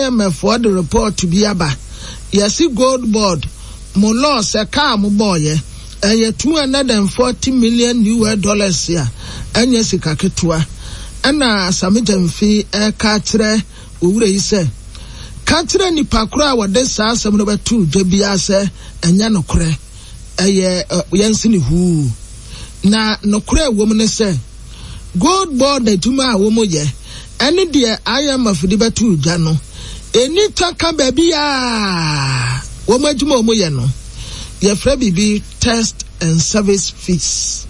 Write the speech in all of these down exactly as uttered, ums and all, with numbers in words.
I M F foɔ de report bi aba, yɛsi Gold Board mo loss, ɛka a mo bɔɔyɛ ɛyɛ two hundred and forty million U S dollars a ɛnyɛ sika ketewa. Ɛna Sammy Gyamfi ɛka kyerɛ owura yi sɛ, ka kyerɛ nipa koro a wɔde saa asɛm no bɛto dwa biara sɛ ɛnyɛ nokorɛ, ɛyɛ yɛnsi ne huu. Na nokorɛ ɛwɔ mu ne sɛ Gold Board adwuma a wɔn yɛ ɛne deɛ I M F de bɛto dwa no ɛni twaka baabi a wɔn adwuma a wɔn yɛ no. Yɛfrɛ biribi test and service fees,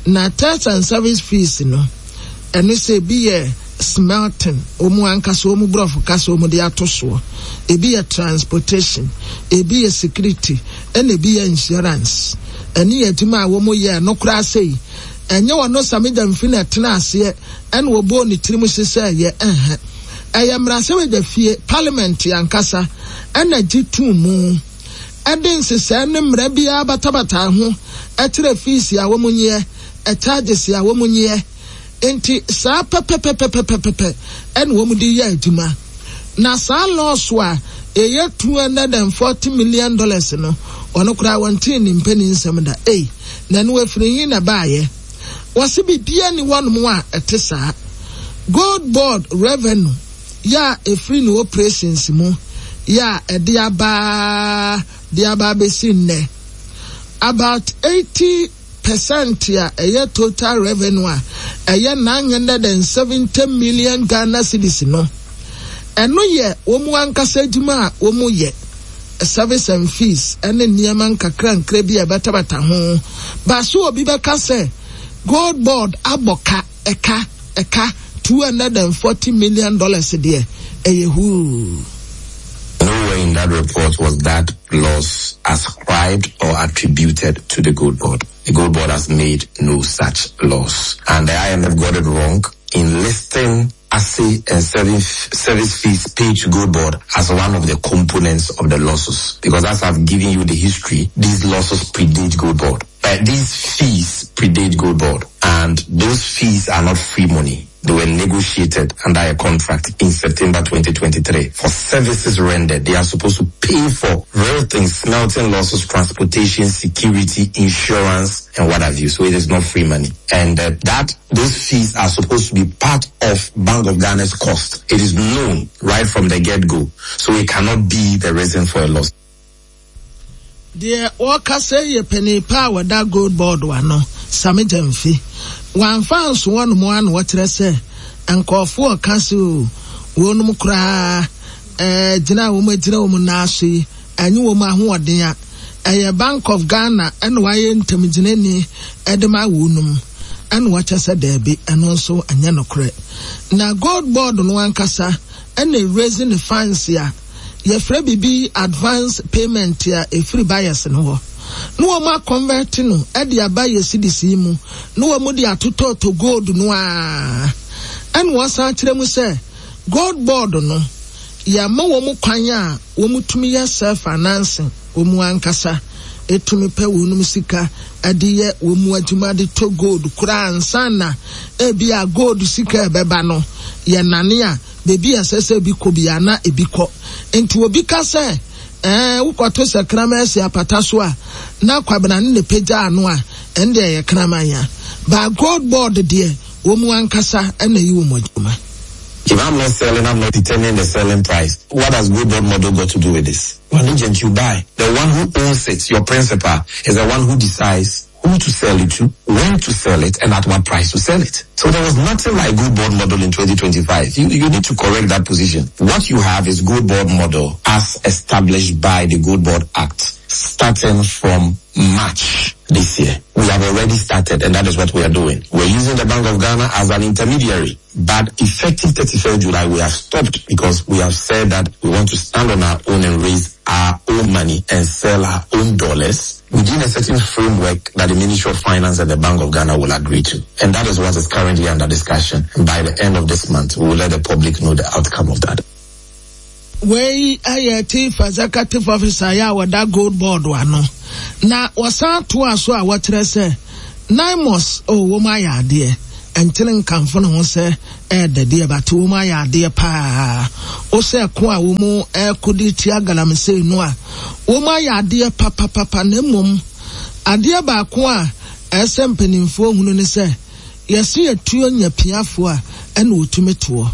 na test and service fees no, ɛno sɛ ebi yɛ smelting, wɔn ankasa wɔn borɔfo kasa wɔn de ato soɔ, ebi yɛ transportation, ebi yɛ security, ɛna ebi yɛ insurance. Ɛne yɛ adwuma a wɔn yɛ no koraa sɛ yi, ɛnyɛ wɔn no Sammy Gyamfi na ɛtena aseɛ ɛna wɔbɔ ne tirim hyehyɛ yɛ ɛhɛ. Ɛyɛ mmarahyɛbadwa fie, parliament ankasa, ɛna gye tum mu ɛde nhyehyɛe ne mmara biara batabata ho ɛkyerɛ fees a wɔn nyɛ, charges a wɔn nyɛ. Nti saa pɛpɛpɛpɛpɛpɛ ɛna wɔn de yɛ adwuma. Na saa loss a ɛyɛ two hundred and forty million dollars no, ɔno koraa wɔn ti ne mpanin nsɛm da. Ei, na ɛno efiri hin na baayɛ? Wɔsi biribiara ni wɔnom a ɛte saa. Gold Board revenue yɛ a efiri ne operations mu yɛ a ɛde abaa de aba abɛsi nnɛ, about eighty percent a ɛyɛ total revenue a ɛyɛ nine hundred and seventy million Ghana cedis no, ɛno yɛ wɔn ankasa adwuma a wɔn yɛ, service and fees ɛne nneɛma nkakra nkra bi a ɛbɛtabata ho. Baaso obi bɛka sɛ Gold Board abɔ ka ɛka ɛka two hundred and forty million dollars deɛ, ɛyɛ huu. Nowhere in that report was that loss ascribed or attributed to the Gold Board. The Gold Board has made no such loss. And the I M F got it wrong in listing assay and service, service fees paid to Gold Board as one of the components of the losses. Because as I've given you the history, these losses predate Gold Board. Uh, these fees predate Gold Board. And those fees are not free money. They were negotiated under a contract in September twenty twenty-three for services rendered. They are supposed to pay for real things, smelting losses, transportation, security, insurance, and what have you. So it is not free money. And uh, that those fees are supposed to be part of Bank of Ghana's cost. It is known right from the get-go. So it cannot be the reason for a loss. Deɛ wɔkasa yɛ panin pa a wɔda Gold Board ano, Sammy Gyamfi, wɔamfa nso wɔnom ano wɔkyerɛ sɛ nkɔɔfoɔ ka se o, wɔnom koraa ɛɛ gyina a wɔn agyina wɔn nan so yi, ɛnye wɔn ahoɔden a ɛyɛ Bank of Ghana ɛna wɔayɛ ntamgyinani ɛde ma wɔnom. Ɛna wɔkyɛ sɛ daabi, ɛno nso ɛnyɛ nokorɛ. Na Gold Board no ankasa ɛna raise ne funds a yɛfrɛ biribi advance payment a ɛfiri buyers no hɔ na wɔn aconvert no ɛde aba yɛ cedis yi mu na wɔn de atotɔɔtɔ gold no a. Ɛna wɔsan kyerɛ mu sɛ Gold Board no, yɛama wɔn kwan a wɔn tumi yɛ self financing, wɔn ankasa etumi pɛ wɔn sika ɛde yɛ wɔn adwuma de tɔ gold koraa ansa na ebi a gold sika ɛbɛba no yɛ nane a beebi a ɛsɛ sɛ ebi kɔ bi na ebi kɔ. Nti obi ka sɛ ɛɛ wokɔto sɛ kraman asi apata so a na Kwabena ne ne pagya ano a, ɛn deɛ ɛyɛ kraman a ba. Gold Board deɛ, wɔn ankasa ɛna yi wɔn adwuma. If I'm not selling, I'm not determining the selling price. What does Gold Board model got to do with this? An agent, you buy. The one who owns it, your principal, is the one who decides who to sell it to, when to sell it, and at what price to sell it. So there was nothing like Gold Board model in twenty twenty-five. You, you need to correct that position. What you have is Gold Board model as established by the Gold Board Act, starting from March this year. We have already started, and that is what we are doing. We're using the Bank of Ghana as an intermediary. But effective thirty-first July, we have stopped because we have said that we want to stand on our own and raise our own money and sell our own dollars within a certain framework that the Ministry of Finance and the Bank of Ghana will agree to. And that is what is currently under discussion. And by the end of this month, we will let the public know the outcome of that. Wei ayɛ Chief Executive Officer yɛ a wɔda Gold Board ano na wɔsan toa so a wɔkyerɛ sɛ NAIMOS o, wɔn ayɛ adeɛ. Nkyene nkamfo ne ho sɛ ɛɛdɛ deɛ, but wɔn ayɛ adeɛ paa. Wohyɛ ko a wɔn ɛko de tia galamsey no a, wɔn ayɛ adeɛ papapapa. Na mmom adeɛ baako a ɛsɛ mpanimfoɔ hunu ne sɛ yɛsi etuo nya piafoɔ a ɛna otumi toɔ.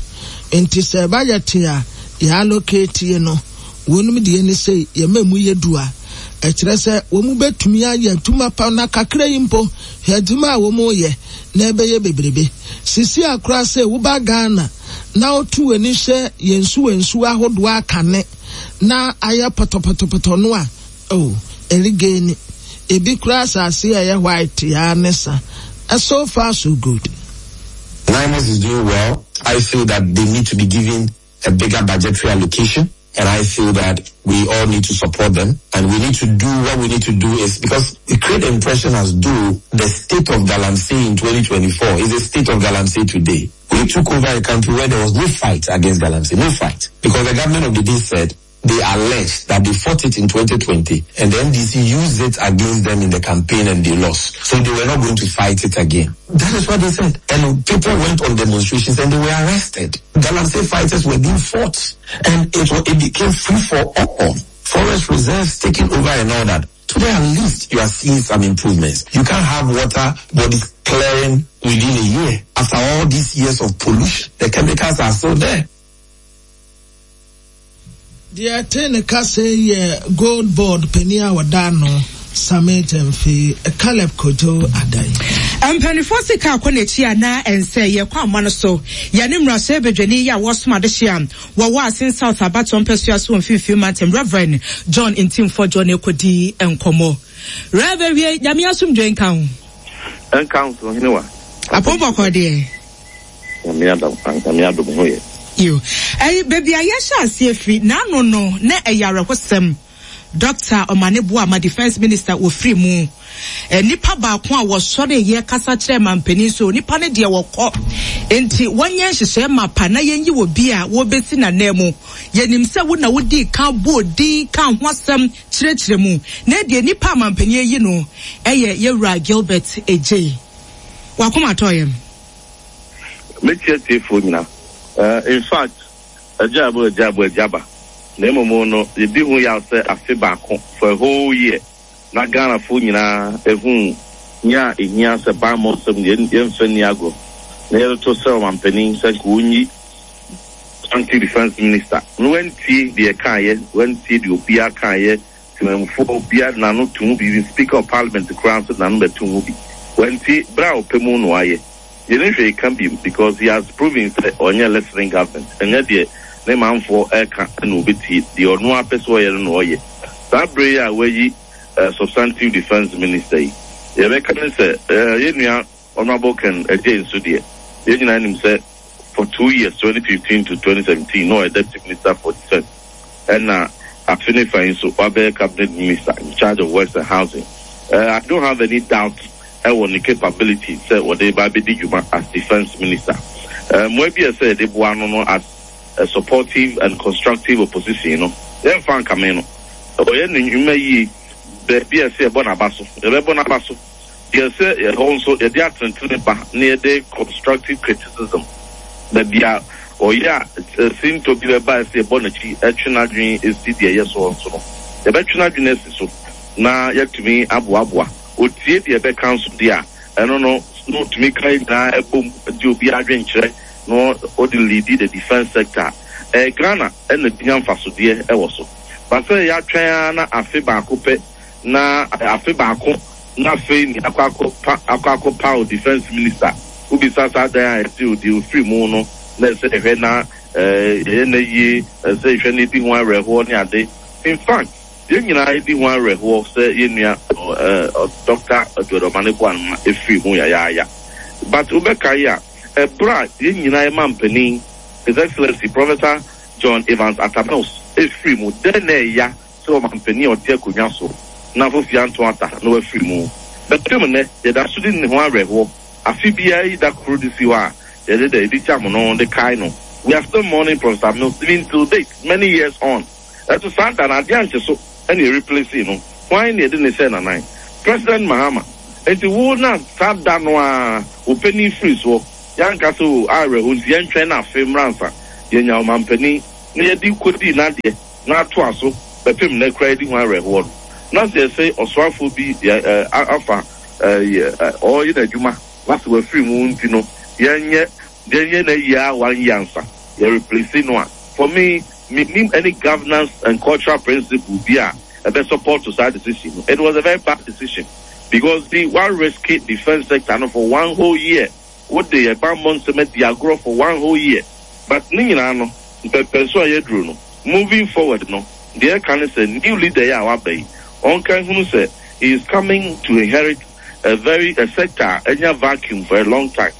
Nti sɛ ɛba te a yɛ allocate no, wɔn deɛ ne sɛ yɛma mu yɛ du a, ɛkyerɛ sɛ wɔn bɛtumi ayɛ adwuma pa. Na kakra yi mpo, hwɛ adwuma a wɔn yɛ na ɛbɛyɛ bebrebe. Sisi akora sɛ woba Ghana na wotu w'ani hyɛ yɛn nsuwa nsuwa ahodoɔ akane na ayɛ pɔtɔpɔtɔpɔtɔ no a, oh, ɛregeni ebi kura asase a ɛyɛ white ya ne sa. So far so good. NAIMOS is doing well. I feel that they need to be given a bigger budgetary allocation. And I feel that we all need to support them, and we need to do what we need to do is because we create the impression as though the state of Galamsey in twenty twenty-four is the state of Galamsey today. We took over a country where there was no fight against Galamsey, no fight. Because the government of the day said they alleged that they fought it in twenty twenty and the N D C used it against them in the campaign and they lost. So they were not going to fight it again. That is what they said. And people went on demonstrations and they were arrested. Galamsey fighters were being fought and it, it became free for all. Forest reserves taken over and all that. Today at least you are seeing some improvements. You can't have water bodies clearing within a year. After all these years of pollution, the chemicals are still there. Deɛ ɛte ne kasa yɛ Gold Board panin a wɔda no, Sammy Gyamfi. Caleb Kojo Adan. Mpanimfoɔ sika akɔ n'akyi a na ɛnsɛ yɛkɔ ama no so. Yɛne mmarahyɛ badwani yi a wɔsom adehye a wɔwɔ Assin South abatoɔ mpɛsua so wɔ Mfimfini Mantam, Reverend John Ntim Fordjour, ne kɔdi nkɔmmɔ. Rev, wie Nyame asomdwe nka ho. Ɛnka ho so, hene wa. Apɔmpɔkɔ deɛ. Nyame adom, Nyame adom ho yɛ. Yo, ɛyi baabi a yɛhyɛ aseɛ firi n'ano no na ɛyɛ awerɛhosɛm. Doctor Omane Boamah, Defence Minister, wɔfiri mu. Nipa baako a wɔsɔre yɛ kasa kyerɛ mampanin so nipa no deɛ wɔkɔ nti wɔnyɛ nhyehyɛ mapa na yɛnyi wɔ bi a wɔbɛsi n'anan mu. Yɛnim sɛ wo na wodi kan bɔɔ din ka ho asɛm kyerɛkyerɛ mu, na deɛ nipa a mampanin ayi no ɛyɛ yɛwura Gilbert Adjei. Wakoma atɔ yɛm. Metia tiefoɔ nyina. In fact, agya abo, agya abo, agya ba na mmom no yɛdi ho yaw sɛ afe baako, for a whole year, na Ghanafoɔ nyinaa ehu nya a ehia sɛ bammɔ nsɛm yɛmfa ni agorɔ na yɛde sɛ ɔmampanin sɛ nka wɔnyi anti Defence Minister na wantie deɛ kaayɛ, wantie deɛ obiara kaayɛ. Temamufoɔ obiara n'ano to mu bi, Speaker of Parliament koraa nso n'ano bɛto mu bi, wantie. Bere a ɔpɛ mu no ayɛ yɛne hwɛ ka bi because he has proven sɛ ɔnyɛ listening government. Ɛnyɛ deɛ ne manfoɔ ɛka ɛna obɛtie, deɛ ɔno apɛ sɛ ɔyɛ no na ɔyɛ. Saa bere yi a wayi uh, substantive Defence Minister yi, yɛbɛka ne sɛ uh, yɛn nua Honourable Ken Adjei nso deɛ, yɛn nyinaa nim sɛ for two years, twenty fifteen to twenty seventeen, no ɔyɛ Deputy Minister for Defence, ɛna afe ne fa yi nso wabɛyɛ Cabinet Minister in charge of Works and Housing. uh, I don't have any doubt ɛwɔ ne capability sɛ wɔde ba abɛdi dwuma as Defence Minister. Mmoa bi a ɛsɛ yɛde boa no no as a supportive and constructive opposition no, yɛmfa nkame no. Ɔyɛ ne nnwuma yie baabi a ɛsɛ yɛbɔ n'aba so, yɛbɛbɔ n'aba so. Deɛ sɛ ɛhɔ nso yɛde atentene ba na yɛde constructive criticism baabi a ɔyɛ a sintɔ bi bɛba, ɛsɛ yɛbɔ n'akyi, ɛtwe n'adwene esi deɛ ɛyɛ soɔ nso no, yɛbɛtwe n'adwene asi so na yɛtumi aboaboa. Otie deɛ ɛbɛka nso deɛ a, ɛno no na otumi ka nyinaa ɛbom de obi adwenkyerɛ na ɔde lead the defence sector. Ɛɛ Ghana ɛna binya mfasodeɛ ɛwɔ so basɛ yɛatwɛn ara na afe baako pɛ, na afe baako na afei ni akɔ akɔ pa akɔ akɔ pa o Defence Minister. Wobisa saa dan a yɛsɛ odi ofiri mu no na ɛsɛ ɛhwɛ na ɛɛ yɛyɛ na yie, ɛsɛ ɛhwɛ na edi ho awerɛhoɔ ne ade. In fact, yɛn nyinaa edi ho awerɛhoɔ sɛ yɛn nua ɛɛ Doctor Edward Omane Boamah efiri mu yayaaya, but wobɛka yi a, ɛbrɛ a yɛn nyinaa yɛ mampanin, His Excellency Professor John Evans Atta Mills, efiri mu dɛn na ɛya sɛ ɔmampanin a ɔte akonnwa so na fofi anto ata na wafiri mu bɛpem nnɛ, yɛda so de ne ho awerɛhoɔ. Afe biara yi da koro de si hɔ a yɛde da yɛde gyam no de kae no. We are still mourning Professor Mills even till date, many years on. Ɛto saa da na adeɛ ankye so ɛna yɛ replace no. Hwan na yɛde ne hyɛ nanan? President Mahama. Nti wo na saa da no a wo panin firi soɔ, yɛanka sɛ o awerɛho nti yɛntwɛn na afe mmra ansa yɛnya ɔmampanin na yɛde kɔdii n'adeɛ na atoa so bɛpem na kura yɛdi ho awerɛhoɔ no. Na sɛ yɛsɛ ɔsoafoɔ bi yɛ afa ɔyɛ n'adwuma na sɛ wafiri mu nti no yɛnyɛ yɛnyɛ na yia one year ansa yɛ replace no a, for me, menim any governance and cultural principle bi a ɛbɛ support to saa decision no. It was a very bad decision because the one risky defence sector no for one whole year, what the ɛbammɔ nsɛm adi agorɔ for one whole year. But ne nyinaa no, mpɛmpɛnso a yɛduru no, moving forward no, deɛ ɛka ne sɛ new leader yi a waba yi, ɔnka hunu sɛ he is coming to inherit a very a sector a ɛnya vacuum for a long time.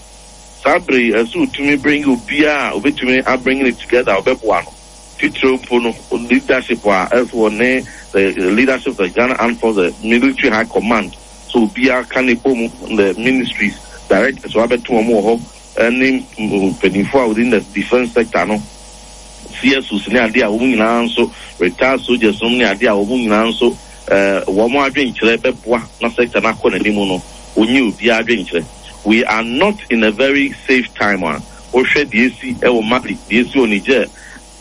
Saa bere yi, ɛsɛ otumi bring obiara a obetumi abring it together a ɔbɛboa no. Titire mpo no, leadership a ɛsɛ wɔ ne the leadership of the Ghana Armed Forces, the military high command, so obiara ka ne bɔ mu, the ministries directors wabɛto wɔn wɔ hɔ, ɛne mpanyinfoɔ a within the defence sector no, C S Os ne adeɛ a wɔn nyinaa nso, retired soldiers nom ne adeɛ a wɔn nyinaa nso ɛɛ wɔn adwenkyerɛ bɛboa na sector no akɔ n'anim no, onye obiara adwenkyerɛ. We are not in a very safe time a wohwɛ deɛ esi ɛwɔ Mali, deɛ esi wɔ Niger,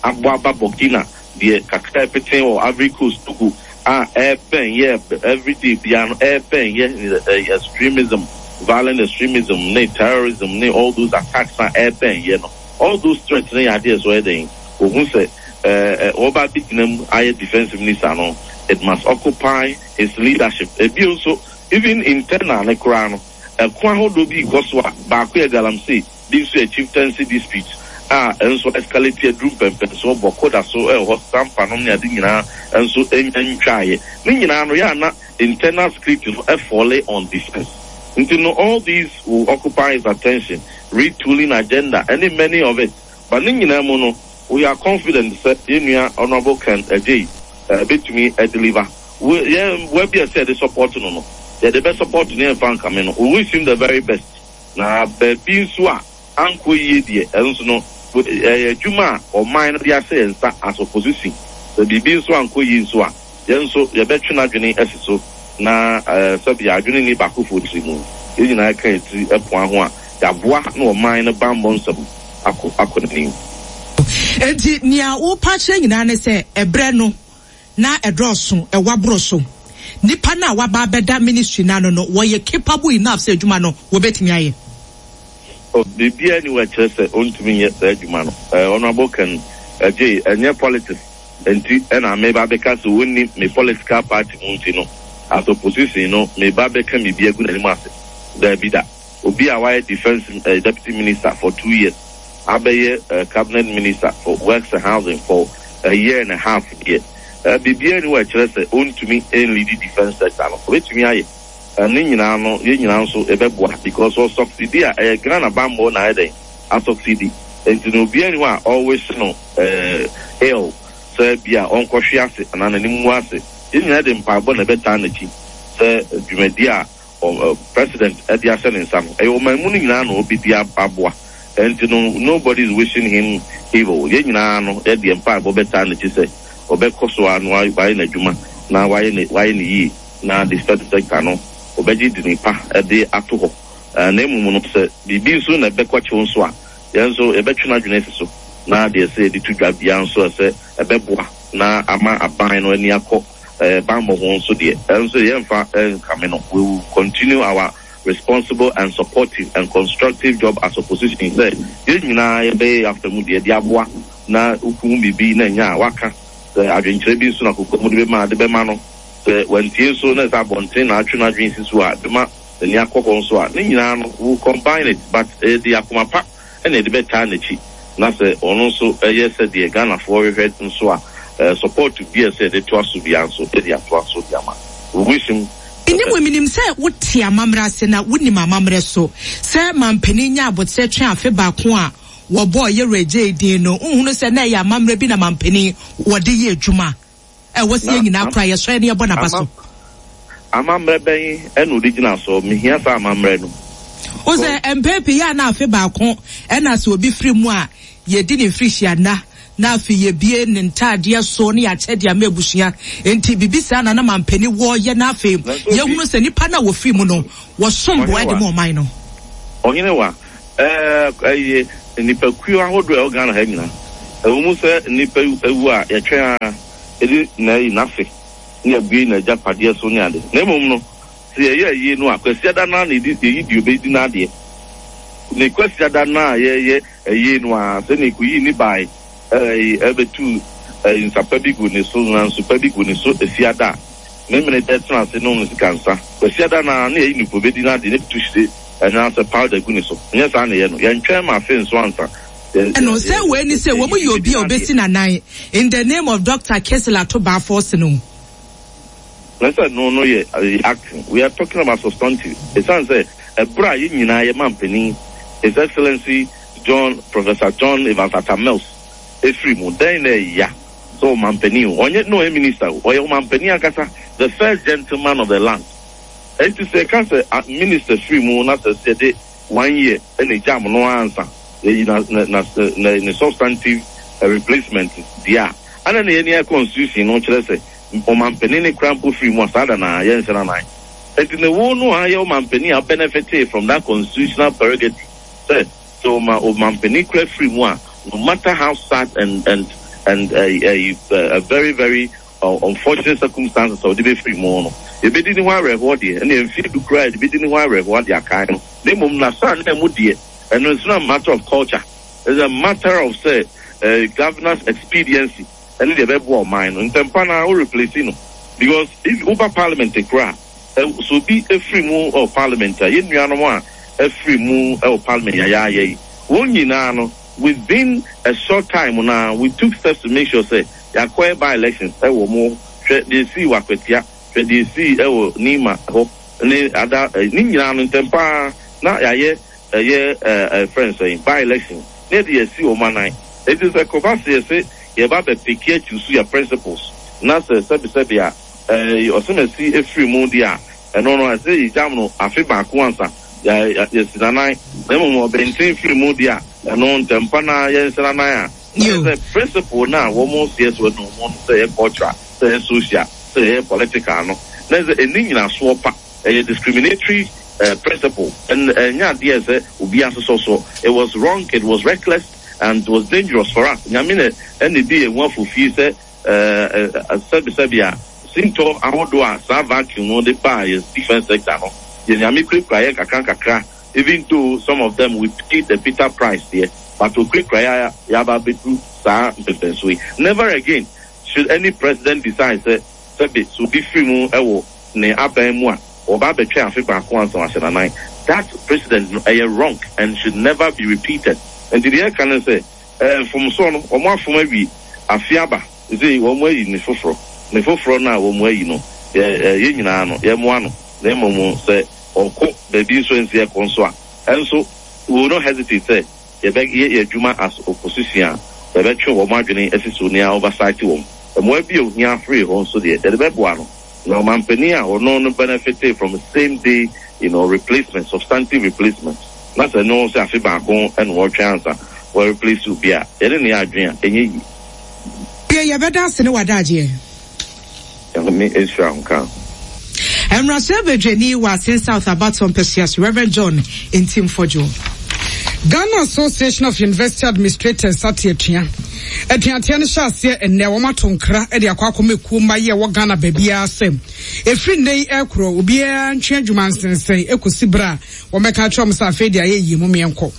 abɔ aba Burkina, deɛ kakra ɛpeten wɔ Ivory Coast, Togo a ɛbɛn yɛ everyday biara no ɛbɛn yɛ ɛ extremism, violent extremism ne terrorism ne all those attacks a ɛbɛn yɛ no, all those threats ne yɛ adeɛ so ɛyɛ den ohun sɛ ɛɛ ɔba bi gyina mu ayɛ defence minister no, it must occupy his leadership. Ebio nso, even internal ne koraa no, ɛko ahodoɔ bi kɔ so a baako yɛ galamsey, bi nso yɛ chieftaincy dispute a nso escalate aduru mpɛmpɛnso bɔkɔ da so ɛwɔ hɔ, sampa nom ne ade nyinaa nso nya ntwaeɛ ne nyinaa no yɛ ana internal security no ɛfall on defence. Nti no, all these will occupy his attention, retooling agenda ɛne many of it. But ne nyinaa mu no, we are confident sɛ yɛn nua Honourable Ken Agyei ɛbɛtumi ɛdeliver. Yɛn wabi ɛsɛ yɛde support no no yɛde bɛ support no, yɛn fa nkame no. We wish him the very best. Na baabi nso a ankɔ yie deɛ, ɛno nso no ɛyɛ adwuma a ɔman no de ahyɛ yɛn nsa as opposition. Sɛ biribi nso ankɔ yie nso a, yɛn nso yɛbɛtwe n'adwene asi so na ɛɛ sɛbi adwene ni baako fo tiri mu, yɛn nyinaa ka yɛn tiri ɛpoa ho a yɛaboa na ɔman no bammɔ nsɛm akɔ akɔ n'anim. Enti nea wopa kyerɛ nyinaa ne sɛ ɛbrɛ no na ɛdɔɔso, ɛwɔ aboro so, nipa no a waba abɛda ministry n'ano no, wɔyɛ capable enough sɛ adwuma no wɔbɛtumi ayɛ? Biribiara ni wɔkyerɛ sɛ ɔntumi nyɛ saa adwuma no. Ɛɛ Honourable Ken Agyei, ɛnyɛ politics nti ɛna meba bɛka sɛ wɔnni me political party mu nti no, as opposition no, meba bɛka biribi agu n'anim ase. Daabi da. Obi a wayɛ defence uh, deputy minister for two years, abɛyɛ uh, cabinet minister for works and housing for a year and a half deɛ, uh, biribiara ni wɔkyerɛ sɛ ɔntumi nlead defence sector no. Ɔbɛtumi ayɛ. Ne nyinaa no, yɛn nyinaa nso ɛbɛboa because ɔsucceed a, ɛyɛ Ghana bammɔ na ayɛ dɛn asucceed. Nti na obiara ni hɔ a ɔwish no ɛɛ ill sɛ bi a ɔnkɔhwe ase anaa n'anim ngu ase. Yɛn nyinaa de mpaebɔ na ɛbɛtaa n'akyi sɛ dwumadi a president ɛde ahyɛ ne nsa no, ɛyɛ ɔman mu no nyinaa na ɔbɛdi aboa. Nti no, nobody is wishing him evil. Yɛn nyinaa no, yɛde mpaebɔ bɛtaa n'akyi sɛ ɔbɛkɔ so a na wayɛ n'adwuma na wayɛ ne wayɛ ne yie na defence sector no ɔbɛgye di nipa ɛde ato hɔ. Na emu no, sɛ biribi nso na ɛbɛkɔ kyew nso a, yɛn nso yɛbɛtwe n'adwene asi so na deɛ sɛ yɛde to dwa bia nso ɛsɛ ɛbɛboa na ama aban no ani akɔ ɛɛ bammɔ ho nso deɛ, ɛno nso yɛmfa nkame no. We will continue our responsible and supportive and constructive job as opposition sɛ yɛn nyinaa yɛbɛyɛ afa mu deɛ de aboa na wokuhu biribi na nya a waka sɛ adwenkyerɛ bi nso na koko mu de bɛma de bɛma no. Sɛ wantie nso na sɛ abɔnten na atwe n'adwene si so a, bɛma n'ani akɔ hɔ nso a, ne nyinaa no, we will combine it. But ɛde akoma pa ɛna yɛde bɛtaa n'akyi na sɛ ɔno nso ɛyɛ sɛdeɛ Ghanafoɔ hwehwɛ nso a, support bi a sɛ yɛde toa so bia nso, yɛde atoa so de ama. We wish him. Nnim wɔ minim sɛ wote amammerɛ ase na wonim amammerɛ so sɛ mampanin nya abotire twe afe baako a wɔbɔɔ yɛwura gye din no, nhunu sɛ na ɛyɛ amammerɛ bi na mampanin wɔde yɛ adwuma ɛwɔ sɛ yɛn nyinaa kora yɛsɔre ne yɛbɔ n'aba so. Amammerɛ bɛn ɛna ɔde gyina so? Mehia saa amammerɛ no. Wo sɛ mpɛn pii yɛ a na afe baako ɛna sɛ obi firi mu a, yɛdi ne mfirihyia nna Na afei yɛbie ne ntaadeɛ so ne yɛakyɛ de ama abusua. Enti biribi saa na na mampanin wɔɔyɛ, na afei yɛhunu sɛ nipa no a wɔfiri mu no wɔsom boa de ma ɔman no. Ɔhene wa, ɛɛ ɛyɛ nipakuo ahodoɔ a ɛwɔ Ghana ha nyinaa. Ɛwɔ mu sɛ nipa ewu a yɛtwɛn a ɛdi na ɛyi n'ase ne abue n'agyapadeɛ so ne ade. Na mmom no, sɛ yɛyɛ ayie no a, Kwasiada no a na yɛdi yɛyi deɛ obɛdi n'adeɛ. Ne Kwasiada no a yɛyɛ ayie no a, sɛ ne kɔyi ne bae ɛɛ ɛbɛtu ɛɛ nsapa bi gu ne so na nsupa bi gu ne so efiada a, memene dɛ tena ase nom ne sika nsa. Kwasiada no a na yɛyi nipa obɛdi n'adeɛ ne tu hyire ɛnaasɛ powder gu ne so. Nyɛ saa na yɛ no. Yɛntwɛn ma afe nso ansa. Ɛno sɛ wei ni sɛ wɔn yɛ obi a obesi n'anan in the name of Doctor Cassiel Ato Baah no. Na sɛ no no yɛ acting. We are talking about substantive. Ɛsiane sɛ ɛberɛ a yɛn nyinaa yɛ mampanin, His Excellency John Professor John Evans Atta Mills efiri mu, dɛn na ɛya sɛ ɔmampanin o, ɔnyɛ no ɔyɛ minister o, ɔyɛ ɔmampanin ankasa, the first gentleman of the land. Enti sɛ ɛka sɛ minister firi mu na sɛ sɛ yɛde one year ɛna egya mo no ansa yɛyi na na na na ne substantive replacement deɛ a, ana na yɛn ni constitution no kyerɛ sɛ ɔmampanin ne kura mpo firi mu a, saa da na yɛnhyɛ n'anan. Enti ne wo no a yɛ ɔmampanin a benefit from that constitutional prerogative sɛ sɛ ɔma ɔmampanin kura firi mu a, no matter how sad and and and uh, uh, uh, very very uh, unfortunate circumstances a ɔde bɛfiri mu no, yɛbɛdi ne ho awerɛhoɔ deɛ, ɛna mfie du koraa yɛde bɛdi ne ho awerɛhoɔ de akae no. Na mmom nasa na mu deɛ, ɛno it's not a matter of culture, it's a matter of say uh, governance expediency ɛne deɛ ɛbɛboa ɔman no ntɛmpa na wo replace no, because if woba parliament koraa, so obi efiri mu ɛwɔ parliament a, yɛn nuanom a efiri mu ɛwɔ parliament yayaaya yi, wɔn nyinaa no, within a short time na we took steps to make sure say yɛakɔɛ by elections ɛwɔ mu. Hwɛ deɛ esi wɔ Akwatia, hwɛ deɛ esi ɛwɔ Nima hɔ ne ada ne nyinaa no, ntɛmpa na yɛayɛ ɛyɛ ɛɛ friends ɛyin by election ne yɛde yɛsi wɔn anan. Eti sɛ kɔba se yɛsɛ yɛba bɛ pick akyi so yɛ principles na sɛ sɛbisɛbi a ɛɛ ɔsɛmɛsi efiri mu deɛ a, ɛno no ɛsɛ yɛgyam no afe baako ansa yɛ yɛsi nanan, na mmom ɔbɛnten firi mu deɛ a, ɛno ntɛmpa na yɛnhyɛ nanan a sɛ principle na wɔn seɛ so no wɔn sɛ ɛyɛ cultural, sɛ ɛyɛ social, sɛ ɛyɛ political no, na sɛ ɛni nyinasoɔ pa, ɛyɛ discriminatory uh, principle, and ɛnyɛ adeɛ sɛ obi asosɔ so. It was wrong, it was reckless and it was dangerous for us. Nyame na ɛna bi ehu afofie sɛ ɛɛ sɛbisɛbi a sintɔ ahodoɔ a saa vacuum no de baa yɛ defence sector no yɛ, Nyame kurakura yɛ kakra nkakra, even though some of them we paid the bitter price there, but okurakura yɛ yaba abɛduru saa mpɛmpɛnso yi. Never again should any president decide sɛ sɛbi so obi firi mu ɛwɔ ne aban mu a, ɔba abɛtwɛn afe baako ansa wahyɛ n'anan. That precedent no ɛyɛ wrong and should never be repeated. Nti deɛ ɛka no sɛ ɛɛ mfomsoɔ no, wɔn afom awie, afe aba sɛ wɔn ayi ne foforɔ, ne foforɔ no a wɔn ayi no, yɛ ɛɛ yɛn nyinaa no yɛmmoa no, na mmom sɛ ɔkɔ baabi nso nsi ɛkɔ nso a, ɛnso we will not hesitate sɛ yɛbɛyɛ yɛ adwuma as opposition a, yɛbɛtwe wɔn adwene asi so nea oversight wɔn mmoa bi a ohia afiri hɔ nso deɛ, yɛde bɛboa no. Na ɔmampanin a ɔno no benefit from same day you know, replacement, substantive replacement, na sɛ no sɛ afe baako ɛna wɔtwe ansa wɔ replace obi a, yɛde ne yɛ adwene a ɛnyɛ yie. Yɛ yɛbɛda ase ne wadagyeɛ. Nyame nhyira ho ka. Mmarahyɛ badwani wɔ Assin South abatɔ mpɛsua so, Reverend John Ntim Fordjour. Ghana Association of University Administrators ate atua. Atuateɛ no hyɛ aseɛ ɛnnɛ. Wɔn ato nkra de akɔ akɔma ekuo mma yi a ɛwɔ Ghana baabiara sɛ efiri nnɛ yi ɛkorɔ, obiara ntwe adwuma nsensɛn ekosi bere a wɔbɛka akyerɛ wɔn sɛ afei de ayɛ yie mu mmiɛnkɔ.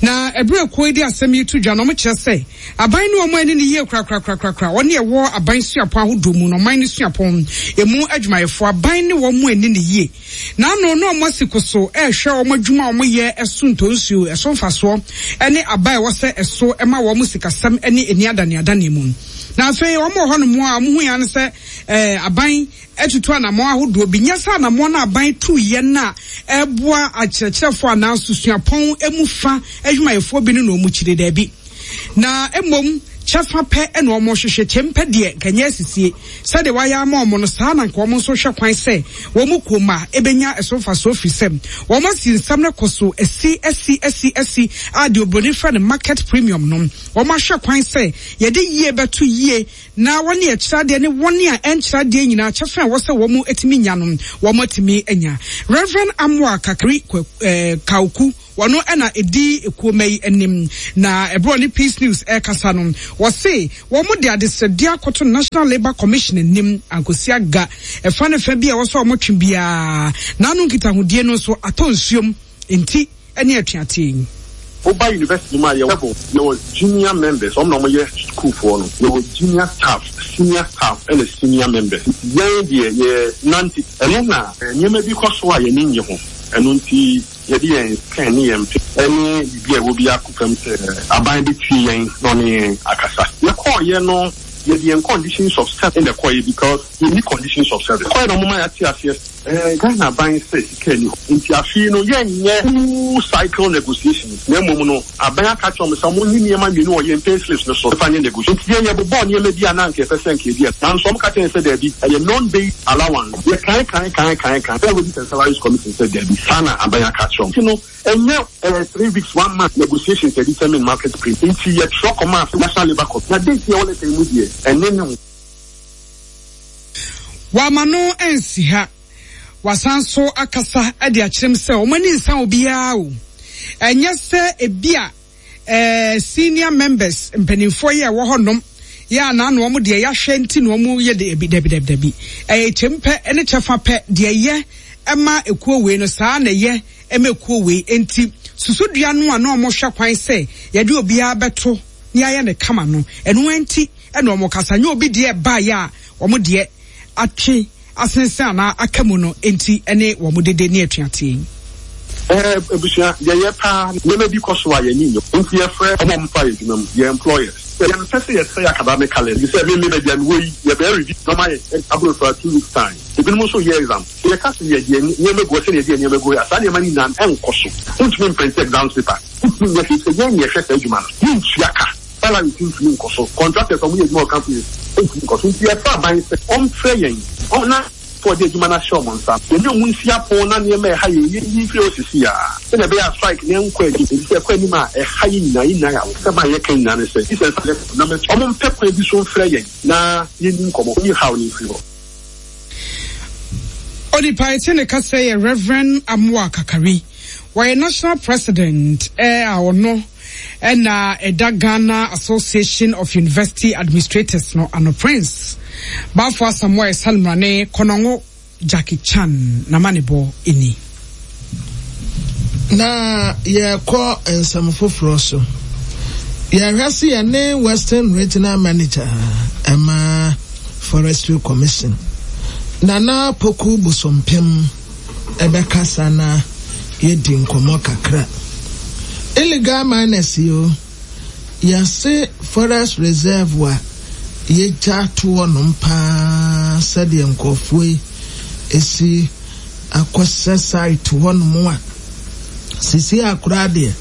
Na ɛberɛ ekuo yi de asɛm yi to dwa no, wɔn kyerɛ sɛ aban ne wɔn ani ne yie korakorakorakora. Wɔn ɛwɔ aban suapɔn ahodoɔ mu na ɔman ne suapɔn emu adwumayɛfoɔ, aban ne wɔn ani ne yie. Na ano na wɔn asi ko so ɛrehwɛ wɔn adwuma a wɔyɛ ɛso ntonsuo, ɛso mfasoɔ ɛne aba a ɛwɔ sɛ ɛso ɛma wɔn sikasɛm ɛne ani adaneadane mu. Na afei wɔn wɔ hɔnom a wɔn ho yan sɛ ɛɛ aban atutu anammɔn ahodoɔ bi, nyɛ sɛ anammɔn no aban tu yɛ na ɛboa akyerɛkyerɛfoɔ anaa susuapɔn emu fa adwumayɛfoɔ bi no na wɔn kyerɛ daabi, na mmom kyɛfa pɛ ɛna wɔn hwehwɛ. Kyɛmpɛ deɛ nkanyɛ asisie sɛdeɛ wayɛ ama wɔn no saa, na nka wɔn nso hwɛ kwan sɛ wɔn kurom a ebenya ɛso mfasoɔ, firi sɛ wɔn asi nsɛm no kɔ so asi asi asi asi a deɛ obroni frɛ no market premium no. Wɔn ahwɛ kwan sɛ yɛde yie bɛto yie na wɔne ɛkyerɛ adeɛ ne wɔne a ɛnkyerɛ adeɛ nyinaa kyɛfa a ɛwɔ sɛ wɔn atumi nya no wɔn atumi anya. Reverend Amoah Kakari Kauku wɔno ɛna edi ekuoma yi anim na ɛberɛ ne Peace News ɛrekasa no wɔse wɔn de adesrɛdeɛ akɔto National Labour Commission anim ankosi aga ɛfa ne fa bi a ɛwɔ sɛ wɔn twe biara n'ano nkitahodie no nso atɔ nsuom nti ɛne atuateɛ yi. Oba university mu a yɛwɔ level, yɛwɔ junior members, wɔn na wɔyɛ schoolfoɔ no, yɛwɔ junior staff, senior staff ɛna senior members. Yɛn deɛ yɛ nante ɛno na nneɛma bi kɔ so a yɛn ani nye ho, ɛno nti yɛde yɛn pen ne yɛn pe ɛne biribi a ɛwɔ bi akɔ fam sɛ aban bɛtie yɛn na ɔne yɛn akasa. Yɛkɔɔyɛ no yɛde yɛn conditions of service ɛna ɛkɔɔyɛ because yɛnni conditions of service. Kɔɔyɛ na ɔmo ma yɛate aseɛ ɛɛ Ghana aban sɛ sika ni hɔ nti afei no yɛnyɛ full cycle negotiations na mmom no aban aka kyerɛ ɔmo sɛ ɔmo nyi nneɛma mmienu wɔ yɛn pay slips no so ɛfa nyɛ negotiation. Nti yɛn yɛbobɔɔ nneɛma bi a na anka yɛpɛ sɛ nka yɛdi nanso ɔmo ka kyerɛ yɛn sɛ daabi ɛyɛ non-base allowance. Yɛ kan kan kan kan kan Fair Wages and Salaries Commission sɛ daabi saa na aban aka kyerɛ ɔmo. Nti no ɛnyɛ ɛɛ three weeks one month negotiations yɛ determine market price nti yɛtwerɛ kɔma National Labour Commission na date yɛ wɔ letter yi mu deɛ ɛne ne Wama no nsi ha wasan so akasa de akyerɛm sɛ wɔn ani nsa obiara o ɛnyɛ sɛ ebi a ɛɛ senior members mpanimfoɔ yi a ɛwɔ hɔnom yɛ a n'ano wɔn deɛ yɛahwɛ nti na wɔn yɛ de ebi dabi dabi dabi ɛyɛ kyɛm pɛ ne kyɛfa pɛ deɛ yɛ ɛma ekuo wei no saa na ɛyɛ ɛma ekuo wei nti susudua no a na wɔn hwɛ kwan sɛ yɛde obiara bɛto ne ayɛ ne kama no ɛno nti ɛna wɔn kasa nye obi deɛ ɛbaayɛ a wɔn deɛ atwe asensɛn anaa aka mu no nti ɛne wɔn dede ne atuateɛ yi. Ɛɛ ebusua deɛ yɛ paa nneɛma bi kɔ so a yɛn ani nyɛ nti yɛfrɛ ɔmo a ɔmo fa yɛ adwuma mu yɛ employers yɛmpɛ sɛ yɛsɛe academic calendar sɛ me me baabi a mewɔ yi yɛbɛyɛ review na ɔmo ayɛ aburo for two weeks time ebinom nso yɛ exam yɛka sɛ yɛde nneɛma gu hɔ sɛdeɛ yɛde nneɛma gu hɔ a saa nneɛma no nyinaa ɛnkɔ so wontumi mprint exams paper wontumi nyɛ hwee sɛ yɛn na yɛhwɛ saa adwuma no yɛntua ka salary ntumi nkɔ so contractors ɔmo yɛ adwuma wɔ companies ntumi nkɔ so nti yɛfa aban sɛ ɔmfrɛ yɛn ɔna fɔ de adwuma no ahyɛ ɔmo nsa yɛne ɔmo nsi apon na nneɛma ɛha yɛn yɛnyi mfiri hɔ sisi a sɛdeɛ ɛbɛyɛ a strike ne nkɔ anim ebi sɛ ɛkɔ anim a ɛha yɛn nyinaa yɛn nyinaa yɛ awo sɛ ban yɛka nyinaa ne sɛ sɛ nsa na ɔmo mpɛ kwan bi so mfrɛ yɛn na yɛnni nkɔmɔ ɔnyi haw ne mfiri hɔ. Onipa ete ne kasa yɛ Reverend Amoah Kakari. Wɔyɛ national president ɛ a ɔno ɛna ɛda Ghana Association of University Administrators no ano Prince Bafo Asamoah Salimrane Kɔnɔngo Jackie Chan n'amanebɔ ni. Na yɛkɔ nsɛm foforɔ so. Yɛhwɛ se yɛne Western Regional Manager ɛma Forestry Commission Nana Poku Bosompem ɛbɛkasa na yɛdi nkɔmmɔ kakra. Illegal miners yi o, yɛse forest reserve a yɛgya to hɔnom paa sɛdeɛ nkurɔfoɔ yi esi akɔsɛ site hɔnom a sisi akora deɛ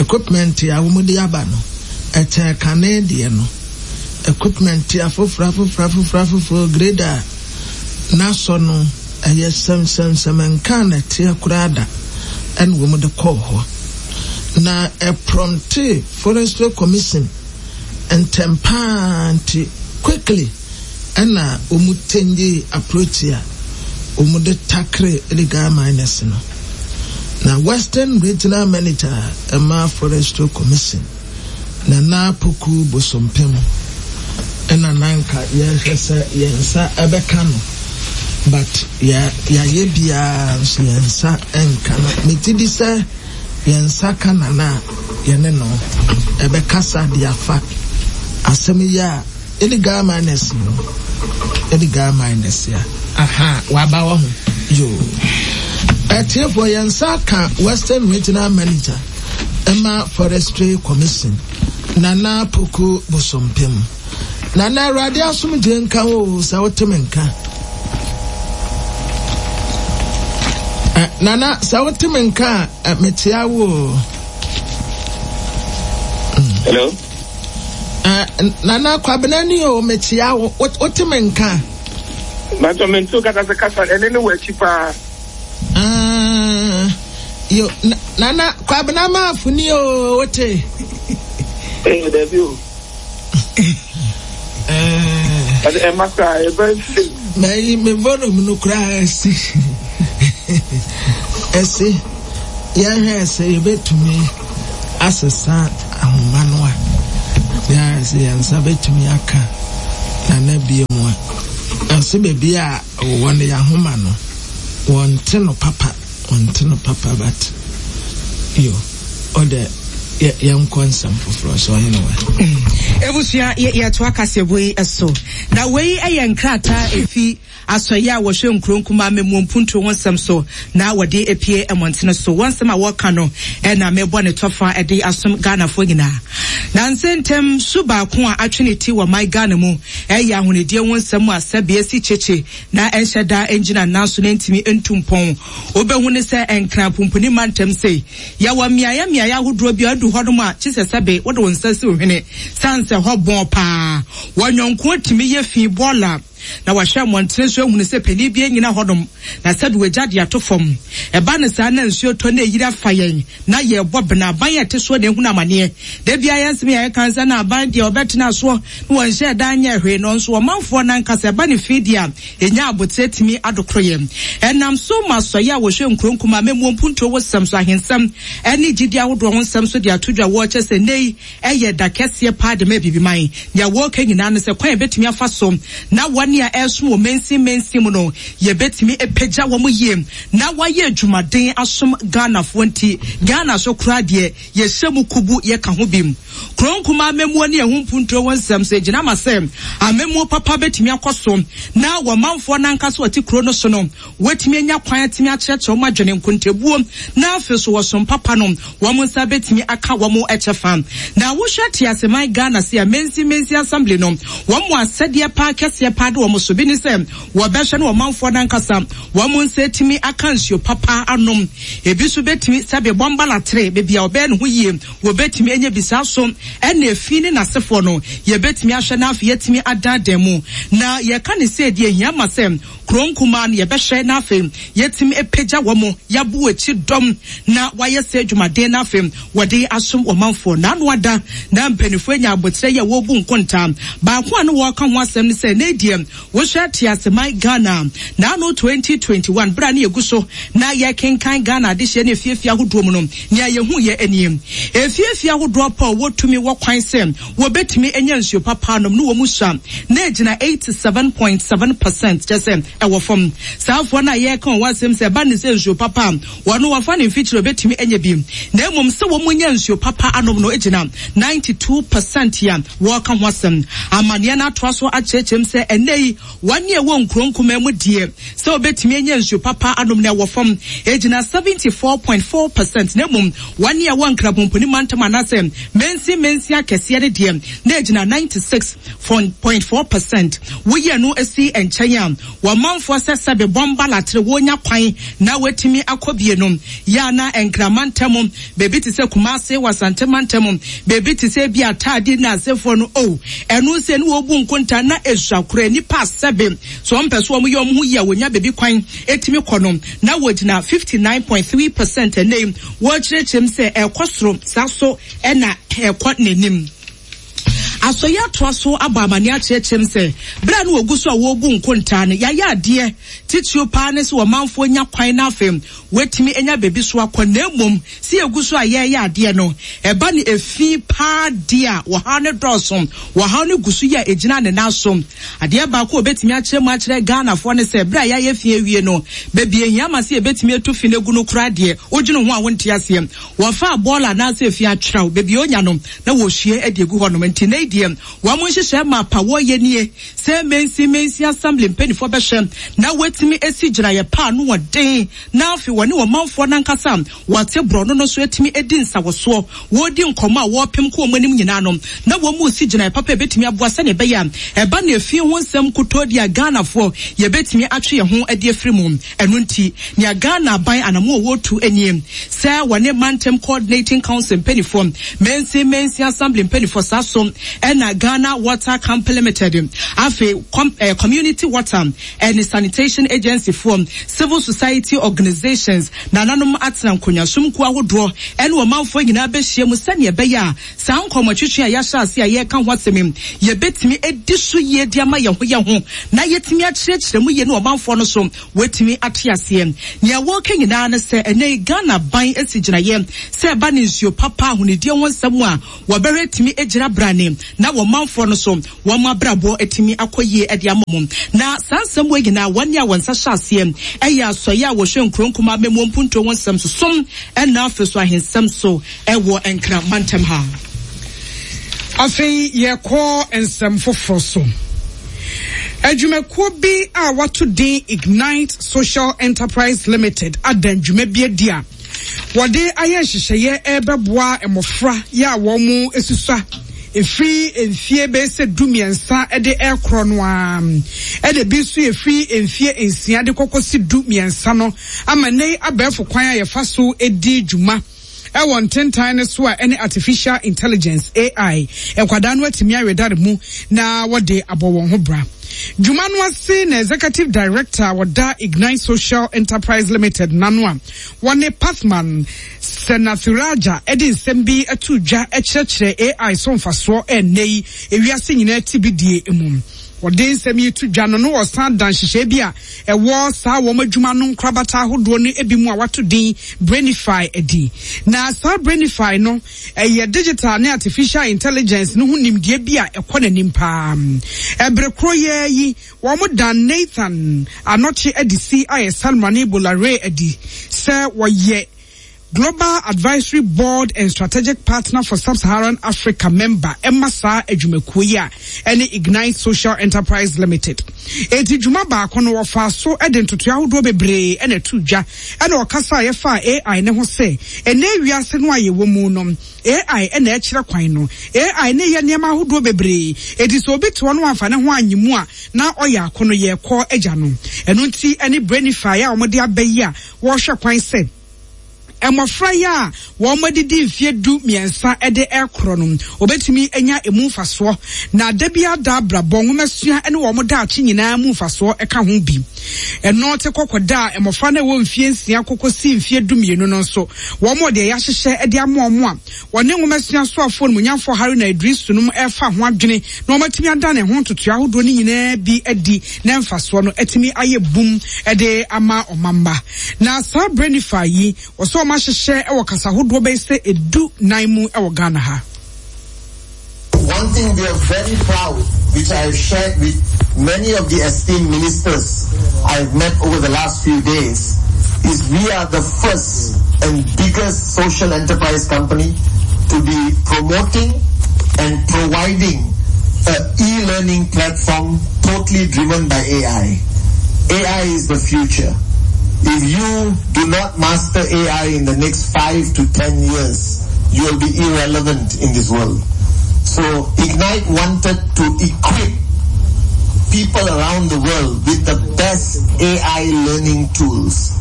equipment a wɔde aba no ɛkyɛn kane deɛ no equipment afoforɔ afoforɔ afoforɔ afoforɔ grader n'asɔ no ɛyɛ sɛmsɛmsɛm nka na ɛteɛ koraa da ɛna wɔn de kɔɔ hɔ na ɛprompt Forestry Commission ntɛm paa nti quickly ɛna wɔn change approach a wɔn de tackle illegal miners no na Western Regional Manager ɛma Forestry Commission Nana Poku Bosompem ɛna nanka yɛhwɛ sɛ yɛn nsa ɛbɛka no but yɛ yɛayɛ biara nso yɛn nsa ɛnka no meti di sɛ yɛn nsa ka nana a yɛne no ɛbɛkasa de afa asɛm yi a illegal miners no illegal miners a aha waba wɔ ho yoo ɛtiefoɔ yɛn nsa ka Western Regional Manager ɛma Forestry Commission Nana Poku Bosompem Nana Awurade asomdwe nka wo sɛ wote me nka Nana sɛ wote me nka a mekyea wo o. Hello. Uh, Nana Kwabena ni o mekyea wo wote me nka. Bàtɔ mi nso kasa sɛ kasa ɛne ne wɔ akyi paa. Uh, yo, Nana Kwabena maafo ni o wote. Eh, dabi o. Eh. Ɛma koraa yɛ very safe. Mɛyi me volume no koraa ɛsi. Ɛsi. Yɛhwɛ sɛ yɛbɛtumi asesa ahoma no a. Yɛahwɛ sɛ yɛn nsa bɛtumi aka Nana bie mu a. Ɛsɛ baabi a wɔn yɛ ahoma no, wɔnte no papa, wɔnte no papa but yo, ɔdɛ yɛnkɔ nsɛm foforɔ so ɔhene wa. Ebusua yɛtoa kaseɛbɔ yi so na wei yɛ nkrataa efi asɔeɛ a wɔhwɛ nkuro nkumaa mmamuo mpuntuo ho nsɛm so na wɔde epie mmɔntene so. Wɔn nsɛm a wɔreka no ɛna mebɔ ne tɔfa de asom Ghanafoɔ nyinaa. Na nsɛntɛm su baako a atwe ne ti wɔ man Ghana mu ɛyɛ ahonidie ho nsɛm a sɛbe esi kyekye na ɛnhyɛ da ngyina nan so na ntumi ntu mpɔn. Wobɛhu ne sɛ Nkran pumpuni mantam sei yɛwɔ mmeaeɛ mmeaeɛ ahodoɔ bi a adu hɔnom a kye sɛ sɛbe wode wo nsa si wo hwene sane sɛ hɔ bɔn paa. Wɔnyɔnko tumi yɛ fi bɔɔla na wahwɛ mmɔntene so ehunu sɛ panin bi anyina hɔnom na sɛbe wagya de ato fam. Ɛba ne saa na nsuo tɔ na eyiri afa yɛn na yɛbɔ bena aban a ɛte soɔ na ehunu amaneɛ. Da bia yɛn nsɛm yɛ ɛka nsa na aban deɛ ɔbɛtena soɔ na wɔnhyɛ dan nyɛ hwee no nso ɔmanfoɔ nankasa ɛba ne fi deɛ a enya abotire tumi adokoro yɛn. Ɛnam so ma asɔeɛ a wɔhwɛ nkuro nkumaa mɛmuo mpuntuo wɔ sɛm so ahensɛm ɛne gyidi ahodoɔ ho nsɛm so de ato dwa wɔkyɛ sɛ nnɛ yi ɛyɛ da kɛseɛ paa de ma Abibiman. Nea wɔreka nyinaa no sɛ kwan a yɛbɛtumi afa so na wɔne a ɛresom wɔ mansin mansin mu no yɛbɛtumi apagya wɔn yie na wɔayɛ adwumaden asom Ghanafoɔ nti Ghana so koraa deɛ yɛhyɛ mu kubu yɛka ho bi. Kuro nkumaa amammuo ne ɛho mpuntuo ho nsɛm so egyina ma sɛ amammuo papa bɛtumi akɔ so na wɔmanfoɔ nankasa wɔte kuro no so no wɔatumi anya kwan atumi akyerɛkyerɛ wɔn adwene nkontabuo na afei so wɔsom papa no wɔn nsa bɛtumi aka wɔn kyɛfa. Na wohwɛ teaseman Ghana se a Mensi Mensi Assembly no wɔn mu asɛdeɛ paa kɛseɛ paa de wɔn so bi ne sɛ wɔbɛhwɛ ne ɔmanfoɔ nankasa wɔn nsa atumi aka nsuo papa anom. Ebi nso bɛtumi sɛbe bɔmbalatere beebi a ɔbɛyɛ ne ho yie wɔbɛtumi anya bi saa so ɛna efi ne n'asefoɔ no yɛbɛtumi ahwɛ na afei yɛtumi adaadaa mu. Na yɛka ne sɛ deɛ ehia ma sɛ kuro nkumaa no yɛbɛhwɛ na afei yɛtumi apagya wɔn yɛabo akyi dɔm na wɔayɛ sɛ adwumaden na afei wɔde asom ɔmanfoɔ. N'ano ada na mpanimfoɔ anya abotire yɛ wɔrebu nkonta. Baako a no wɔreka ho asɛm ne sɛ ne deɛ wohwɛ teaseman Ghana n'ano twenty twenty one bere a ne yɛgu so na yɛkenkan Ghana adehyeɛ ne efiefie ahodoɔ mu no nea yɛhu yɛ nie. Efiefie ahodoɔ pa a wɔtumi wɔ kwan sɛ wɔbɛtumi anya nsuo papa anom ne wɔn mu sua na egyina eighty seven point seven percent kyɛ sɛ ɛwɔ fam. Saafoɔ no a yɛreka wɔn asɛm sɛ ɛba ne sɛ nsuo papa a wɔn wɔfa ne mfikyire obetumi anya bi na mmom sɛ wɔn nya nsuo papa anom no egyina ninety two percent a wɔreka ho asɛm. Amaneɛ no atoa so akyerɛkyerɛm sɛ ɛnɛ yi wɔn a ɛwɔ nkuro nkumaa mu deɛ sɛ obetumi anya nsuo papa anom no ɛwɔ fam egyina seventy four point four percent na mmom wɔn a ɛwɔ nkrabomponi mantam anaasɛ mensi mensi akɛseɛ no deɛ na egyina ninety six point four percent. Woyɛ no esi nkyɛn a wɔmanfoɔ sɛ sɛbe bɔmba latere wɔnya kwan na wɔatumi akɔ bie no yɛ ana Nkraman ntam beebi te sɛ Kumase wɔ Asante mantam beebi te sɛ bi ataade na asefoɔ no o ɛno sɛ ne wɔbu nkonta na esua kora nipa sɛbe so wɔn mpɛ so wɔn yɛ wɔn ho yie a wɔnya beebi kwan etumi kɔ no na wɔgyina fifty nine point three percent ɛnɛ yi wɔkyerɛkyerɛm sɛ ɛkɔ soro saa so ɛna ɛkɔ n'anim. Asɔyɛ atoa so abɔ amane akyerɛkyerɛm sɛ bere a no wɔgu so a wɔrebu nkontaa no yɛayɛ adeɛ titiriw paa ne sɛ ɔmanfoɔ nya kwan na afei wɔatumi anya baabi so akɔ na mmom sɛ yɛgu so a yɛreyɛ adeɛ no ɛba ne efi paa deɛ a wɔhaw ne dɔɔso wɔhaw ne gu so yɛ a egyina ne nan so. Adeɛ baako a obetumi akyerɛ mu akyerɛ Ghanafoɔ ne sɛ bere a yɛayɛ fi awie no baabi ehia ma sɛ yɛbɛtumi atu fi no egu no koraa deɛ wodwene ho a wonte aseɛ. Wɔfa bɔɔla anaasɛ efi atwerɛw baabi a onya no na wɔhwie de egu hɔnom nti na deɛ wɔn nhyehyɛ mapa wɔyɛ nie sɛ Mensi Mensi Assembly mpanimfoɔ bɛhyɛ na wɔatumi esi gyinaeɛ paa no wɔden na afei wɔne ɔmanfoɔ nankasa wɔte borɔno no so atumi edi nsawɔsoɔ wɔredi nkɔmɔ a wɔrepem kɔ wɔn anim nyinaa no na wɔn mu si gyinaeɛ papa ebetumi aboa sɛnea ɛbɛyɛ a ɛba na efi ho nsɛm kotoo di a Ghanafoɔ yɛbɛtumi atwe yɛn ho adi afiri mu. Ɛno nti nea Ghana aban anamo a wɔretu nie sɛ wɔne mantam coordinating council mpanimfoɔ Mensi Mensi Assembly mpanimfoɔ saa so Ɛna Ghana Water Company Limited, afei com, eh, Community Water and Sanitation Agency foɔ, Civil Society Organizations, nananom atena nkonnwasom kuo ahodoɔ ɛne ɔmanfoɔ nyinaa bɛhyia mu sɛnea ɛbɛyɛ a saa nkɔmmɔtwetwe a yɛahyɛ ase a yɛreka ho asɛm yi, yɛbɛtumi adi so yie de ama yɛn ho yɛn ho na yɛtumi akyerɛkyerɛ mu yie ne ɔmanfoɔ no so wɔatumi ate aseɛ. Nea wɔreka nyinaa ne sɛ ɛnɛ yi Ghana ban asi gyinaeɛ sɛ ɛba ne nsuo papa ahonidie ho nsɛm a wɔbɛhwɛ atumi agyina brane na wɔmanfoɔ no so wɔn abrabɔ atumi akɔ yie de ama wɔn. Na saa nsɛm wɔ nyinaa, wɔn a wɔn nsa hyɛ aseɛ ɛyɛ asɔeɛ a wɔhwɛ nkuro nkumaa mɛmuo mpuntuo ho nsɛm so som ɛna afei so ahensɛm so ɛwɔ Nkran mantam ha. Afei yɛkɔ nsɛm foforɔ so. Adwumakuo bi a wato din Ignite Social Enterprise Limited ada dwuma bi adi a wɔde ayɛ nhyehyɛeɛ ɛrebɛboa mmɔfra yɛ a wɔn esusua efiri mfie bɛyɛ sɛ du mmiɛnsa de ɛrekorɔ no ara, ɛna bi nso efiri mfie nsia de kɔkɔsi du mmiɛnsa no, ama ne abɛɛfo kwan a yɛfa so di dwuma ɛwɔ ntentan no so a ɛne artificial intelligence, A I, nkwadaa no atumi awedare mu na wɔde abɔ wɔn ho bra. Dwuma no ase na executive director a wɔda Ignite Social Enterprise Limited n'ano a wɔne Pathman Senathiraja de nsɛm bi ato dwa kyerɛkyerɛ A I so mfasoɔ ɛnnɛ yi ewiase nyinaa ti bi die mu. Wɔde nsɛm yi to dwa no no wɔsan da nhyehyɛe bi a ɛwɔ saa wɔn adwuma no nkorabata ahodoɔ no bi mu a wato din Brainify adi. Na saa Brainify no ɛyɛ digital ne artificial intelligence no ho nimdeɛ bi a ɛkɔ n'anim paa. Ɛbere koro yɛ yi, wɔn dan Nathan Anɔkye adi si ayɛ Salmani Bolare adi sɛ wɔyɛ Global Advisory Board and Strategic Partner for Sub-Saharan Africa member ɛma saa adwumakuo yi a ɛne Ignite Social Enterprise Limited. Eti dwuma baako no, wɔfa so de ntotoe ahodoɔ bebree ɛna ɛto dwa, ɛna ɔkasa a yɛfa A I ne ho sɛ ɛnɛ wiase no a yɛwɔ mu no, A I ɛna ɛkyerɛ kwan no. A I ne yɛ nneɛma ahodoɔ bebree, eti sɛ obi te hɔ no amfa ne ho anyi mu a, na ɔyɛ ako no yɛkɔ agya no. Ɛno nti ɛne Brainify a wɔde aba yi a wɔrehwɛ kwan sɛ mmɔfra yi a wɔn adidi mfie du mmiɛnsa de ɛkorɔ no obetumi anya emu mfasoɔ na da bi ada abrabɔ nwomasua ne wɔn daakye nyinaa mu mfasoɔ ka ho bi. Ɛno te kɔkɔ da a mmɔfra no a ɛwɔ mfie nsia kɔkɔ si mfie du mmienu no nso, wɔn deɛ yɛahyehyɛ de ama wɔn a wɔne nwomasua soafoɔ no munyamfoɔ Haruna Idrisu nom ɛfa ho adwene na wɔn atumi ada ne ho ntotoe ahodoɔ no nyinaa bi adi na mfasoɔ no atumi ayɛ bum de ama ɔmamba. Na saa Brainify yi, wɔsɛ wɔn ahyehyɛ wɔ kasa ahodoɔ bɛyɛ sɛ edu nan mu wɔ Ghana ha. One thing we are very proud, which I have shared with many of the esteemed ministers I've met over the last few days, is we are the first and biggest social enterprise company to be promoting and providing an e-learning platform totally driven by A I. A I is the future. If you do not master A I in the next five to ten years, you will be irrelevant in this world. So Ignite wanted to equip people around the world with the best A I learning tools.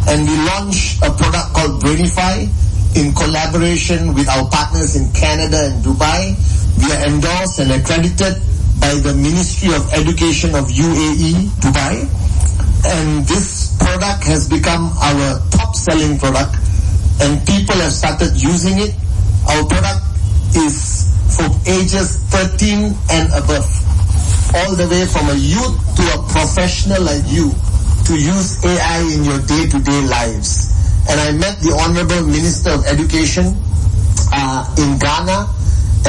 And we launched a product called Brainify in collaboration with our partners in Canada and Dubai. We are endorsed and accredited by the Ministry of Education of U A E, Dubai. And this product has become our top selling product and people have started using it. Our product is for ages thirteen and above, all the way from a youth to a professional like you, to use A I in your day-to-day lives. And I met the Honorable Minister of Education uh, in Ghana,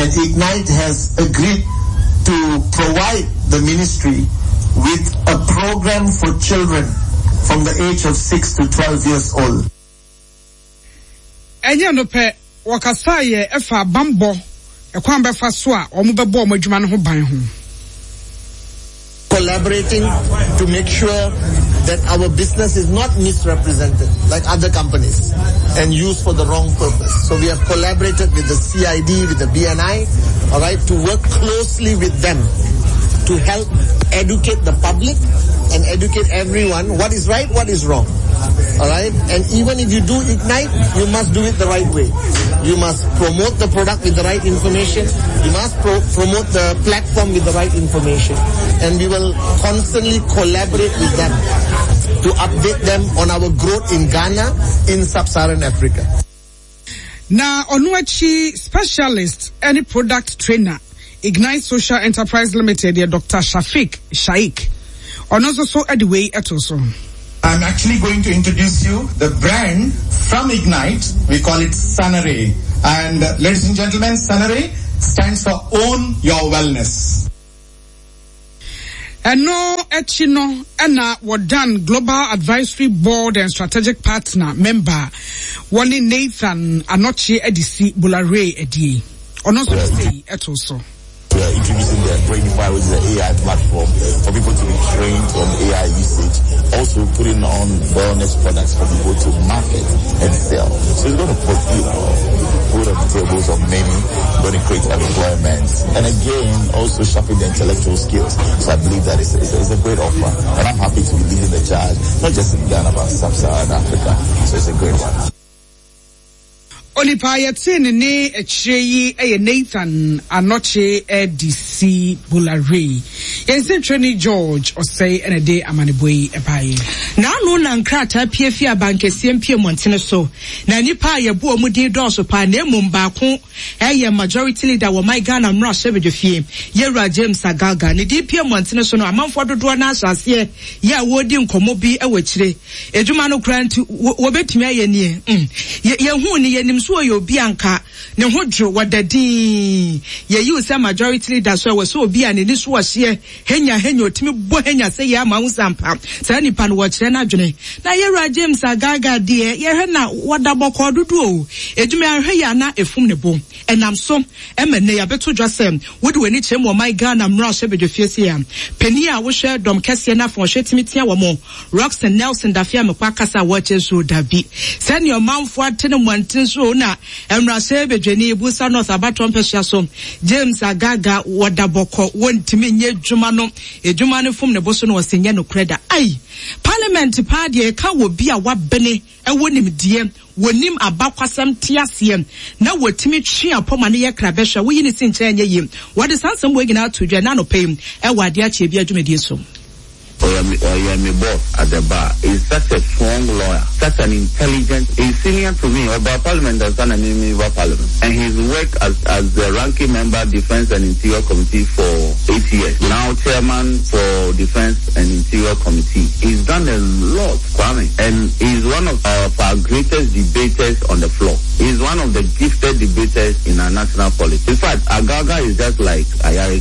and Ignite has agreed to provide the ministry with a program for children from the age of six to twelve years old. Ɛnyɛ no pɛ, wɔkasa yɛ ɛfa bambɔ ɛkwan bɛfa so a wɔn bɛbɔ wɔn adwuma no ho ban ho. Collaborating to make sure that our business is not misrepresented like other companies and used for the wrong purpose. So we have collaborated with the C I D, with the B N I, all right, to work closely with them. to help educate the public and educate everyone what is right, what is wrong. All right? And even if you do ignite, you must do it the right way. You must promote the product with the right information. You must pro- promote the platform with the right information. And we will constantly collaborate with them to update them on our growth in Ghana, in sub-Saharan Africa. Na ɔno akyi specialist ne product trainer Ignite Social Enterprise Limited yɛ Doctor Shafiq Shaik. Ɔno nso so de wei to so. I'm actually going to introduce you the brand from Ignite. We call it Sunray. And uh, ladies and gentlemen, Sunray stands for Own Your Wellness. Ɛno akyi no na wɔdan Global Advisory Board and Strategic Partner member wɔne Nathan Anokye Adisi Bolarey adie. Ɔno nso de sei too so. We are introducing the Brainify, which is an A I platform for people to be trained on A I usage. Also putting on wellness products for people to market and sell. So it's gonna put, you know, food on the tables of many, gonna create employment. And again, also sharpen the intellectual skills. So I believe that it's, it's, it's a great offer. And I'm happy to be leading the charge, not just in Ghana, but sub-Saharan Africa. So it's a great one. Onipa a yɛtee ne nne akyire yi yɛ Nathan Anokye D C Bolarey. Yɛn nsɛntwerɛni George Osei na ɛde amanebɔ yi baeɛ. N'ano na nkrataa pue fii abankɛseɛ mpie mmɔntene so, na nnipa a yɛbɔ wɔn din dɔɔso paa, na mmom baako yɛ Majority Leader wɔ man Ghana mmarahyɛbadwafie, Yɛwura James Agalga. Ne din pue mmɔntene so no, amanfoɔ dodoɔ no ara hyɛ aseɛ yɛ a wɔredi nkɔmmɔ bi wɔ akyire. Adwuma no koraa nti, wɔbɛtumi ayɛ nie? Mm. Yɛhuu no, yɛnim so ɔyɛ obi a anka ne ho dwo, wɔda dinn. Yɛyi wo sɛ Majority Leader so, ɛwɔ sɛ obi a n'ani so ɔhyeɛ, henya henya, ɔtumi bɔ henya sɛ yɛ ama wo sɛ ampa saa nipa no wɔkyerɛ n'adwene. Na Yɛwura James Agalga deɛ, yɛhwɛ na wɔda bɔkɔɔ dodo o. Adwuma yi anhwɛ yie a na ɛfum ne bo. Ɛnam so ma nnɛ yɛabɛto dwa sɛ wode w'ani kyerɛ mu ɔman Ghana mmarahyɛbadwafie sei a, panin a wohwɛ dɔm kɛseɛ no afa ɔhwɛ tumi tea wɔn, Rockson Nelson Dafe Amekwah akasa a wɔkyerɛ so dabi. Sɛnea ɔmanfoɔ ate no mmɔntene so o na mmarahyɛbadwani Busa North abatoɔ mpɛsoa so James Agaga wɔda bɔkɔ wɔntumi nyɛ adwuma no adwuma no fom ne bo so na wɔse nyɛ nokorɛ da. Ai! Parliament paa deɛ ɛka wɔ bi a wabene ɛwɔ nimdeɛ wɔnim abakwasɛm te aseɛ na wɔtumi twe apɔ ma no yɛ kra bɛhwɛ a woyi ne si nkyɛn nyɛ yie. Wɔde saa nsɛm wei nyinaa to dwa ɛna anɔpa yi ɛwɔ adeɛ akyeɛ bi adwumadie so. Ɔyɛ me boss at the bar. He's such a strong lawyer, such an intelligent, he's senior to me. Ɔbaa parliament ansa na me meba parliament. And he's worked as, as the ranking member Defence and Interior Committee for eight years. Now chairman for Defence and Interior Committee. He's done a lot, Kwame. And he's one of our, our greatest debaters on the floor. He's one of the gifted debaters in our national politics. In fact, Agalga is just like Ayariga.